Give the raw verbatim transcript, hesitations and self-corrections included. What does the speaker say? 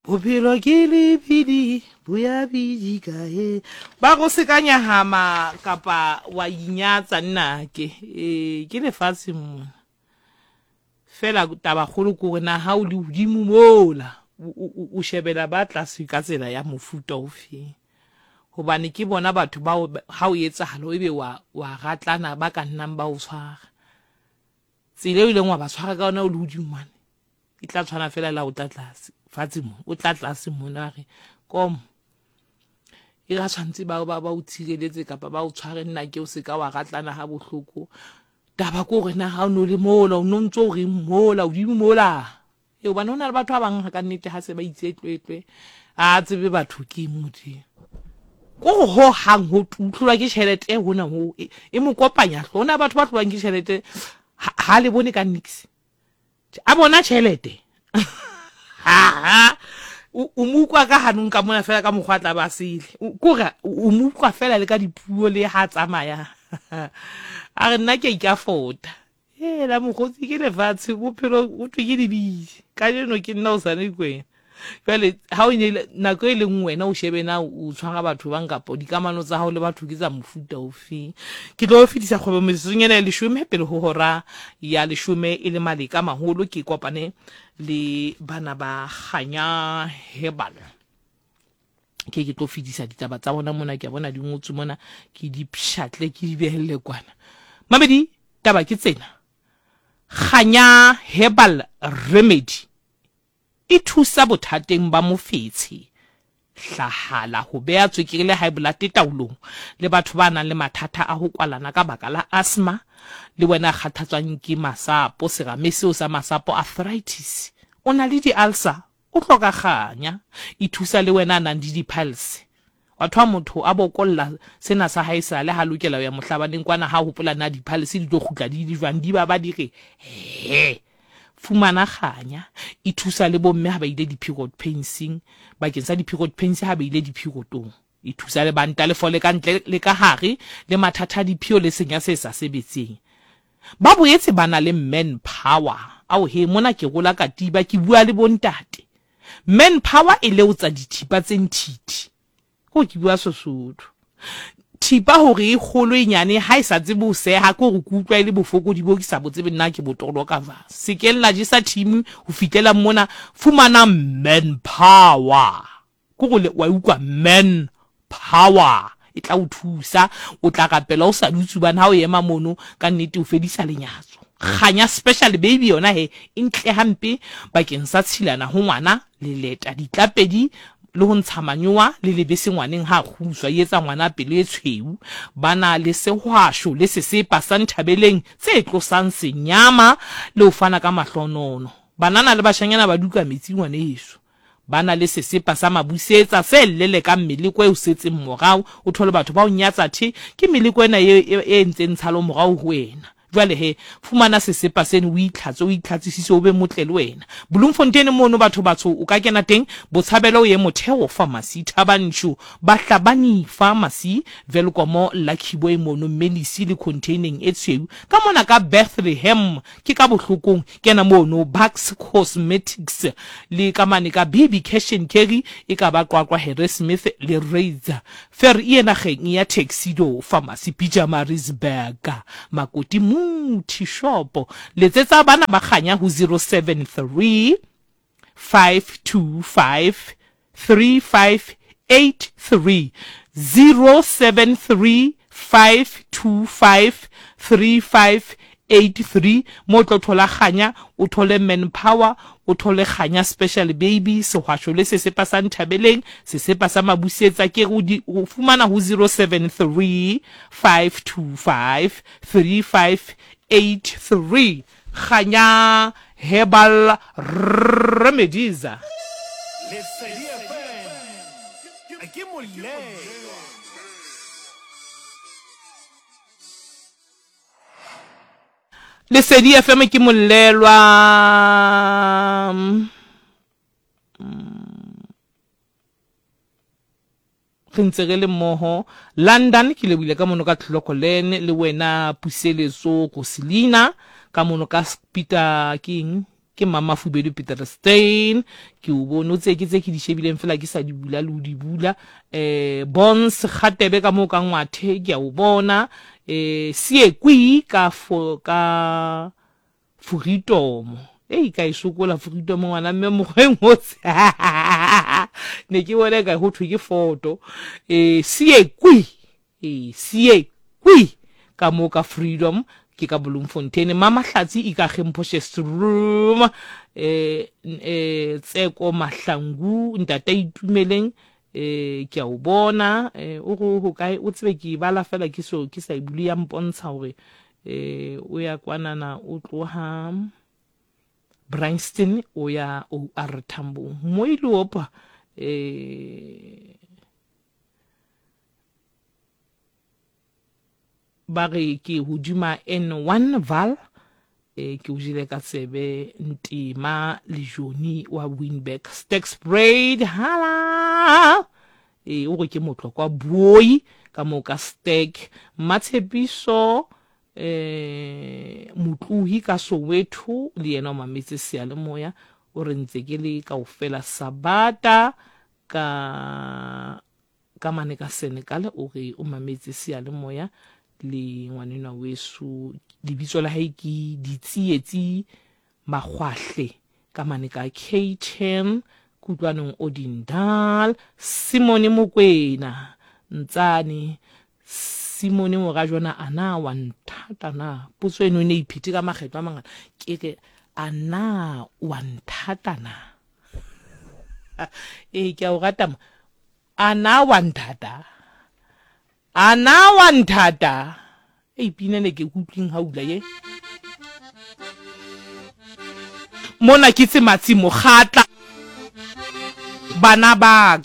Bophelo ke lebidi bo ya bidika he. Ba go se ka nyahama kapa wa inyatsa nnake. Ee, ke lefatshe mona. Fela tabakgolo ke gore na ha o le hodimo mola o, o, o shebela ba tlase ka tsela ya mofuta ofe. Hobane ke bona batho bao ha o etsahala ebe wa, wa ratlana ba ka nnang ba o tshwara. Tsela eo ileng wa ba tshwara ka yona o le hodimo mane e tla tshwana fela le ha o tla tlase fatshe mo, o tla tlase mona re kom e ga tshwantse ba ba ba o tshireletse kapa ba o tshware nna ke o se ka wa ratlana ha bohloko. Taba ke hore na ha o no le mola o no ntso o reng mola hodimo mola. E hobane ho na le batho ba bang ka nnete ha se ba itse tlwetlwe a tsebe batho ke Modimo. Ko go ho hang ho utlwa ke tjhelete hona ho e, e mo kopanya hlo. Hona batho ba tlowang ke tjhelete ha, ha le bone ka nix. A bona tjhelete. Ha o o mo utlwa ka hanong ka mona fela ka mokgwa a tla ba sele. Kore o mo utlwa fela le ka dipuo le ha tsamaya. A re nna ke a ikafota. Hela mokgotsi ke lefatshe bophelo ho thwe ke lebidi. Kajeno ke nna hosane ke wena. Jwale ha o ne nako e leng wena o shebe na o tshwara batho bang kapa dikamano tsa hao le batho ke tsa mofuta ofe. Ke tlo fetisa kgwebo metsotsong ena ya leshome pele ho hora ya leshome e le maleka maholo ke kopane le bana ba Kganya Herbal. Ke ke tlo fetisa ditaba tsa bona mona, ke a bona di ngotswe mona, ke di pshatle ke di behelle kwana. Mamedi, taba ke tsena. Kganya Herbal Remedy e thusa bothateng ba mofetshe, hlahala, ho beha tswekere le high blood taolong, le batho ba nang le mathata a ho kwalana ka baka la asthma, le wena kgathatswang ke masapo, serame seo sa masapo, arthritis, o na le di-ulcer, o hloka kganya. E thusa le wena a nang le di-piles. Wa thola motho a bokolla sena sa hae sale ha lokela ho ya mohlabaneng kwana, ha hopola na di-piles di tlo kgutla di le jwang, di ba ba di re he. Fumana kganya. E thusa le bomme ha ba ile di-period painsing, bakeng sa di-period pains ha ba ile di-periodong. E thusa le banta le fole ka ntle le ka hare, le mathata a diphio le senya se sa sebetseng. Ba boetse ba na le manpower. Ao he, mona ke rola katiba, ke bua le bontate. Manpower e leotsa dithipa tse nthithi. Ko ke bua Sesotho. Thipa hore e kgolo e nyane ha e sa tsebe ho seha, ke hore ke utlwa e le bofokodi bo ke sa bo tsebe nna ke bo toloka jwang. Se ke la jesa team ho fihlela mona, fumana manpower. Ke hore wa utlwa manpower e tla o thusa, o tla rapela o sa dutse hobane ha o ema mono ka nnete o fedisa lenyatso. Kganya special baby yona he e ntle hampe bakeng sa tshilana ho ngwana, leleta, ditlapedi le ho ntsha manyowa le lebese ngwaneng ha kguswa, e etsa ngwana pelo e tshweu. Ba na le sehwasho le sesepa sa nthabeleng tse tlosang senyama le ho fana ka mahlonono. Banana le bashanyana ba duka metsi ngwaneso. Ba na le sesepa sa mabusetsa se lelekang meleko e o setseng morao. O thole batho ba o nyatsa the ke meleko ena e, e, e entseng tshalo morao ho wena. Jwale he, fumana sesepa seno o itlhatse, o itlhatsisise, o be motle le wena. Bloemfontein mono batho batsho o ka kena teng, Botshabelo o ye Motheo Pharmacy, Thabanchu, Bahlabani Pharmacy, Welkom Lucky Boy mono Melisi le containing e tshweu. Ka mona ka Bethlehem ke ka bohlokong, kena mono Bucks Cosmetics le ka mane ka B B Cash and Carry e ka ba Qwaqwa Harrismith le Razor. Fer e nageng ya Tuxedo Pharmacy, Pietermaritzburg, Makoti Muthi Shop. Letsetsa bana ba Kganya ho zero seven three five two five three five eight three, zero seven three five two five three five eight three. Mo tlo thola Kganya, o thole manpower, o thole Kganya special baby, sehwasho le sesepa sa nthabeleng, sesepa sa mabusetsa. Ke o di, o fumana ho zero seven three five two five three five eight three. Kganya Herbal Remedies. Lesedi F M ke molemo. Lesedi F M ke molelwa. Re ntse re le mmoho London, ke lebohile ka mono ka Tlhokolen le wena Puseletso Roselina, ka mono ka Peter King Ke Mmamafubedu Peter Stein, ke o bone o tseye ke tse ke di shebileng fela ke sa di bula le o di bula. Eh Bons Kgatebe ka moo ka Ngwathe ke a o bona. Eh Siekwi ka fo ka Furitomo. Ei ka e sokola Furitomo ngwana mme mokgweng o ne ke bone ka ho thwe ke foto. Eh Siekwi, eh Siekwi ka moo ka Freedom ke ka Bloemfontein. Mama Hlatsi Ikageng Potchefstroom, eh eh Tseko Mahlangu ntata Itumeleng, eh ke a o bona. Eh o go ho kae o tsebe ke bala fela ke so ke sa e bule ya mpontsha hore eh o ya kwanana o tloha Bryanston o ya O R Tambo Moilopa. Eh ba re ke hodima N one Val, eh ke o jele ka tsebe Ntima le Joni wa Winburg Sterkspruit hala. Eh o re ke motlokwa boi ka mo ka Stack Matshepiso eh Motlohi ka Soweto le yena o mametse seyalemoya o re ntse ke le kaofela Sabata ka ka mane ka Senegal o re o mametse seyalemoya le ngwanenwa weso lebitso la hae ke Ditsietsi Makgwahle ka mane ka K ten Kutlwanong Odindal. Simone Mokwena Ntsane Simone Morajona ana wa nthata na potso eno e ne iphete ka makgetlo a mangata ke re ana wa nthata na e ke a o rata ma ana wa nthata ana wa nthata e pina ne ke kutlwing ha ula ye mona ke tse matsi mokgatla bana ba ka.